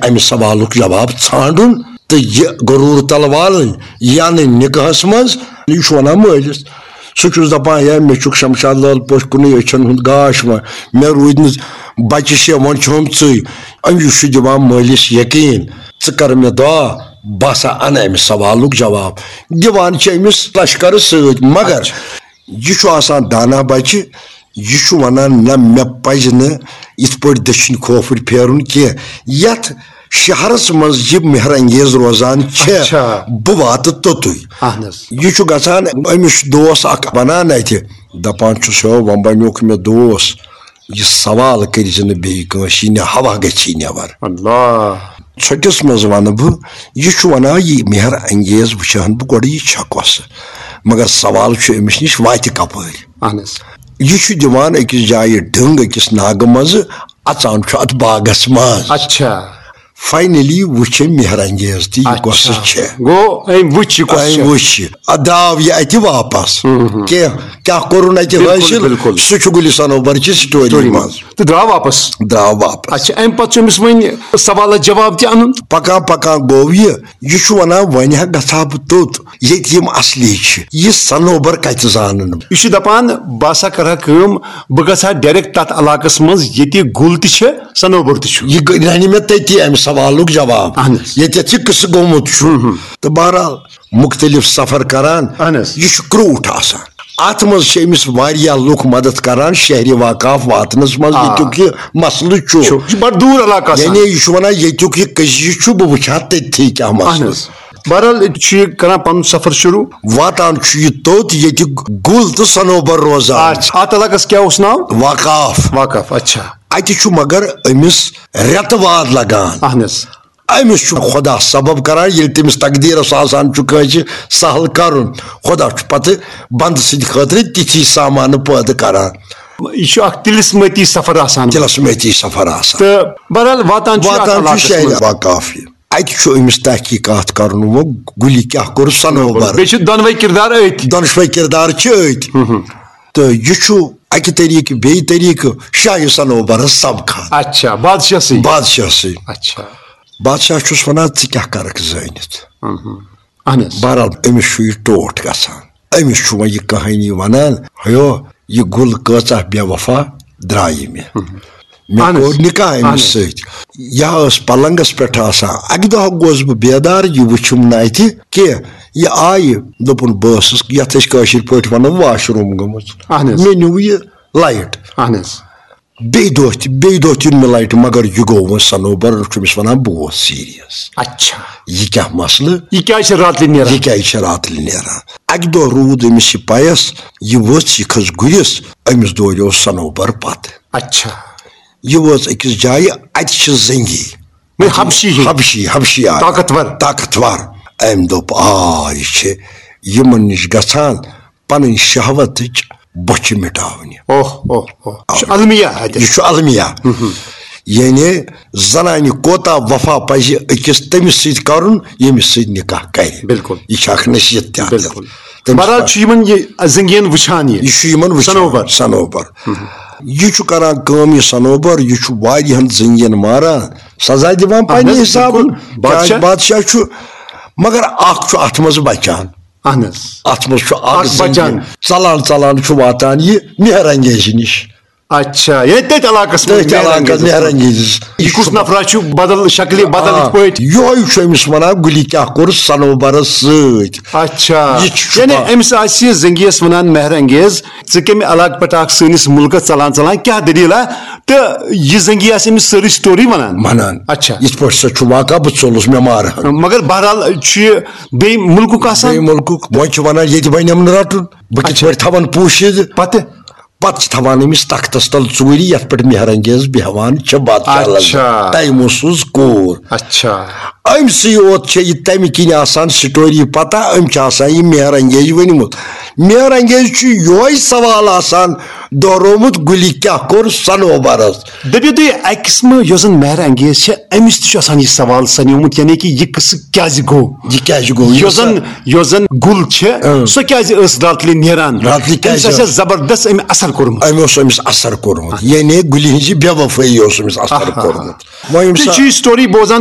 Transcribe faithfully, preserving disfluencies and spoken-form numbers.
امہِ سوالُک جواب ژھانڈُن تہٕ یہِ غرور تلوالٕنۍ، یہِ انٕنۍ نکاحس منٛز۔ یہِ چھُ ونان مٲلِس، سُہ چھُس دپان، "ہے، مےٚ چھُکھ شمشاد لال پٲٹھۍ کُنُے أچھن ہُنٛد گاش وۄنۍ، مےٚ روٗدۍ نہٕ بچہِ شےٚ، وۄنۍ چھُم ژٕے۔" أمِس چھُ دِوان مٲلِس یقین، "ژٕ کر مےٚ دعا، بہٕ ہسا انہٕ امہِ سوالُک جواب۔" دِوان چھِ أمِس لشکرٕ سۭتۍ، مگر اچھا۔ یہِ چھُ آسان دانا بچہِ، یہِ چھُ ونان، "نہ، مےٚ پزِ نہٕ یِتھ پٲٹھۍ دٔچھِنۍ کھوفٕرۍ پھیرُن کینٛہہ۔" یتھ شہرس منٛز یہِ مہر انگیز روزان چھےٚ، اچھا۔ بہٕ واتہٕ توٚتُے۔ اہن حظ۔ یہِ چھُ گژھان، أمِس چھُ دوس اکھ بنان اتہِ، دپان چھُس، "ہو، وۄنۍ بنیوکھ مےٚ دوس، یہِ سوال کٔرۍ زِ نہٕ بیٚیہِ کٲنٛسہِ، یہِ نہ ہوا گژھی نٮ۪بر۔" اللہ۔ ژھۄٹِس منٛز ونہٕ بہٕ، یہِ چھُ ونان، یہِ مہر انگیز وٕچھِ ہن بہٕ گۄڈٕ، یہِ چھا کۄسہٕ؟ مگر سوال چھُ أمِس نِش واتہِ کپٲرۍ؟ اہن حظ۔ یہِ چھُ دِوان أکِس جایہِ ڈنٛگ أکِس ناگہٕ منٛزٕ، اژان چھُ اتھ باغس منٛز۔ اچھا۔ فاینلی وٕچھ أمۍ مہر انگیز تہِ، یہِ اچھا۔ کۄسہٕ چھےٚ؟ گوٚو أمۍ وٕچھ یہِ کۄس أمۍ چھےٚ؟ وٕچھ یہِ۔ ادٕ درٛاو یہِ اتہِ واپس۔ ہم، ہم۔ کینٛہہ کیٛاہ کوٚرُن اتہِ بِلکُل، حٲصِل؟ بِلکُل۔ سُہ چھُ گُلِ سنوبر چہِ سٹوری سٹوری منٛز۔ منٛز۔ تہٕ درٛاو واپس۔ درٛاو واپس۔ اچھا، امہِ پتہٕ چھُ أمِس وۄنۍ سوالس جواب تہِ انُن۔ پکان پکان گوٚو یہِ، یہِ چھُ ونان، "وۄنۍ ہا گژھٕ ہا بہٕ توٚت، ییٚتہِ یِم اصلی چھِ۔ یہِ سنوبر کتہِ زانن بہٕ؟" یہِ چھُ دپان، "بہٕ ہسا کرٕ ہا کٲم، بہٕ گژھٕ ہا ڈایریکٹ تتھ علاقس منٛز، ییٚتہِ گُل تہِ چھِ، سنوبر تہِ چھُ۔" یہِ گٔے، رنہِ مےٚ تٔتی امہِ سوالُک جواب۔ اہن حظ۔ ییٚتٮ۪تھ یہِ قصہٕ گوٚمُت چھُ۔ ہم، ہم۔ تہٕ بہرحال، مختلف سفر کران۔ اہن حظ۔ یہِ چھُ کرٛوٗٹھ آسان۔ اتھ منٛز چھِ أمِس واریاہ لُکھ مدد کران شہرِ واقاف واتنس منٛز، آ۔ ییٚتیُک یہِ مسلہٕ چھُ۔ چھُ۔ یہِ چھُ بڑٕ دوٗر علاقہٕ آسان۔ یعنی یہِ چھُ ونان، ییٚتیُک یہِ کٔشیٖر چھُ، بہٕ وٕچھِ ہا تٔتھی کیٛاہ مسلہٕ۔ اہن حظ۔ بہرحال، چھُ یہِ کران پنُن سفر شروٗع۔ واتان چھُ یہِ توٚت، ییٚتہِ گُل تہٕ سنوبر روزان۔ اچھا، اتھ علاقس کیٛاہ اوس ناو؟ واقاف۔ واقاف، اچھا۔ اتہِ چھُ مگر أمِس رٮ۪تہٕ واد لگان۔ اہن حظ۔ أمِس چھُ خۄدا سبب کران، ییٚلہِ تٔمِس تقدیٖرس آسان چھُ کٲنٛسہِ سہل کرُن، خۄدا چھُ پتہٕ بندٕ سٕنٛدِ خٲطرٕ تِتھی سامانہٕ پٲدٕ کران۔ یہِ چھُ اکھ طلسمٲتی سفر آسان۔ طلسمٲتی سفر آسان۔ تہٕ بہرحال واتان چھُ یہِ اتھ واتان چھُ علاقس شہرِ منٛز۔ واقاف یہِ۔ اتہِ چھُ أمِس تحقیٖقات کرُن وۄنۍ، گُلہِ کیٛاہ کوٚر سنوبر۔ بیٚیہِ چھِ دۄنوَے کردار أتھۍ۔ دۄنوَے کردار چھِ أتھۍ۔ ہُم ہُم۔ تہٕ یہِ چھُ اکہِ طریٖقہٕ بیٚیہِ طریٖقہٕ شاہہِ سنوبرس سبقان۔ اچھا، بادشاہ سٕے۔ بادشاہ سٕے۔ اچھا۔ بادشاہ چھُس ونان، "ژٕ کیٛاہ کرکھ زٲنِتھ؟" ہُم ہُم۔ اہن حظ۔ بہرحال، أمِس چھُ یہِ ٹوٹھ گژھان۔ أمِس چھُ وۄنۍ یہِ کہانی ونان، "ہیو، یہِ گُل کۭژاہ بے وفا درٛایہِ مےٚ۔ ہُم۔ مےٚ اہن حظ۔ کوٚر نکاح أمِس اہن حظ۔ سۭتۍ۔ یہِ ٲس پلنگس پٮ۪ٹھ آسان۔ اکہِ دۄہ گوس بہٕ بیدار، یہِ وٕچھُم نہٕ اتہِ کینٛہہ۔ یہِ آیہِ، دوٚپُن، بہٕ ٲسٕس، یتھ أسۍ کٲشِر پٲٹھۍ ونو، واش روٗم گٔمٕژ۔ اہن حظ۔ مےٚ نیوٗ یہِ لایٹ۔" اہن حظ۔ بیٚیہِ دۄہ تہِ، بیٚیہِ دۄہ تہِ نیوٗ مےٚ لایٹ، مگر یہِ گوٚو وۄنۍ سنوبر، چھُ أمِس ونان، "بہٕ اوس سیریس۔" اچھا۔ یہِ کیٛاہ مسلہٕ؟ یہِ کیٛازِ چھِ راتلہِ نیران؟ یہِ کیٛازِ چھِ راتلہِ نیران؟ اکہِ دۄہ روٗد أمِس یہِ پایس، یہِ ؤژھ، یہِ کھٔژ گُرِس، أمِس دوریو سنوبر پتہٕ۔ اچھا۔ یہِ وٲژ أکِس جایہِ، اتہِ چھِ زنگی۔ وۄنۍ حبشی ہِنٛدۍ۔ حبشی، حبشی آے۔ طاقتور۔ طاقتور۔ أمۍ دوٚپ، "آ، یہِ چھِ یِمن نِش گژھان پنٕنۍ شہوتٕچ بۄچھِ مٹاونہِ۔" اوہ، اوہ، اوہ۔ یہِ چھُ المیہ اتہِ۔ یہِ چھُ المیہ۔ یعنی زنانہِ کوتاہ وفا پزِ أکِس تٔمِس سۭتۍ کرُن، ییٚمِس سۭتۍ نکاح کرِ۔ بِلکُل۔ یہِ چھِ اکھ نصیحت تہِ اتھ۔ بِلکُل۔ تٔمِس بہرحال پزِ۔ چھُ یِمن یہِ زنگین وٕچھان یہِ۔ یہِ چھُ یِمن وٕچھان۔ سنوبر۔ سنوبر۔ یہِ چھُ کران کٲم، یہِ سنوبر، یہِ چھُ واریاہن زنگین ماران، سزا دِوان اہن پننہِ حظ، حسابہٕ۔ بِلکُل۔ کیازِ بادشاہ۔ بادشاہ چھُ، مگر اکھ چھُ اتھ منٛز بچان۔ اہن حظ۔ اتھ منٛز چھُ اکھ اکھ زنگین بچان۔ ژلان ژلان چھُ واتان یہِ مہر انگیزِ نِش۔ اچھا، یعنی تٔتھۍ علاقس منٛز تٔتھۍ مہر علاقس انگیز۔ مہر انگیز۔ یہِ کُس نفرا چھُ بدل شکلہِ، بدل آ، یِتھ پٲٹھۍ؟ یِہوٚے چھُ أمِس ونان، گُلہِ کیٛاہ کوٚر سنوبرس سۭتۍ۔ اچھا۔ یہِ چھُ یعنی چھُپان۔ أمِس آسہِ یہِ زنگیس ونان، مہر انگیز، ژٕ کمہِ علاقہٕ پٮ۪ٹھ آکھ سٲنِس مُلکس ژلان ژلان، کیٛاہ دٔلیٖلہ؟ تہٕ یہِ زنگی آسہِ أمِس سٲرٕے story ونان۔ ونان۔ اچھا۔ یِتھ پٲٹھۍ سا چھُ واقعہ، بہٕ ژوٚلُس، مےٚ مارہن۔ مگر بہرحال چھُ یہِ بیٚیہِ مُلکُک آسان۔ بیٚیہِ مُلکُک، وۄنۍ چھِ ونان، ییٚتہِ بنیٚم نہٕ رٹُن، بہٕ کِتھ اچھا۔ پٲٹھۍ تھاوَن پوٗشِتھ؟ پتہٕ؟ پتہٕ چھِ تھاوان أمِس تختس تل ژوٗرِ، یتھ پٮ۪ٹھ مہر انگیز بیہوان چھِ بادشاہ اچھا۔ لذت۔ تیموسٕز کوٗر۔ اچھا۔ أمۍ سٕے یوت چھےٚ یہِ تمہِ کِنۍ آسان story پتہ، أمۍ چھِ آسان یہِ مہر انگیز ؤنمُت۔ مہر انگیز چھُ یِہوٚے سوال آسان دۄہرومُت، گُلہِ کیٛاہ کوٚر سنوبرس؟ دٔپِو تُہۍ، اکہِ قٕسمہٕ یۄس زن مہر انگیز چھےٚ، أمِس تہِ چھُ آسان یہِ سوال سنیومُت، یعنی کہِ یہِ قصہٕ کیٛازِ گوٚو؟ یہِ کیٛازِ گوٚو؟ یۄس یُس زن، یۄس زن گُل چھےٚ، اۭں۔ سۄ کیٛازِ ٲس راتلہِ نیران؟ راتلہِ أمِس کیٛازِ آسہِ ٲس؟ زبردست أمۍ اثر کوٚرمُت۔ أمۍ اوس أمِس اثر کوٚرمُت، یعنی گُلہِ ہٕنٛزِ بے وفٲیی اوس أمِس اثر آہا۔ کوٚرمُت۔ وۄنۍ ییٚمہِ تُہۍ چھِو ساتہٕ یہِ story بوزان،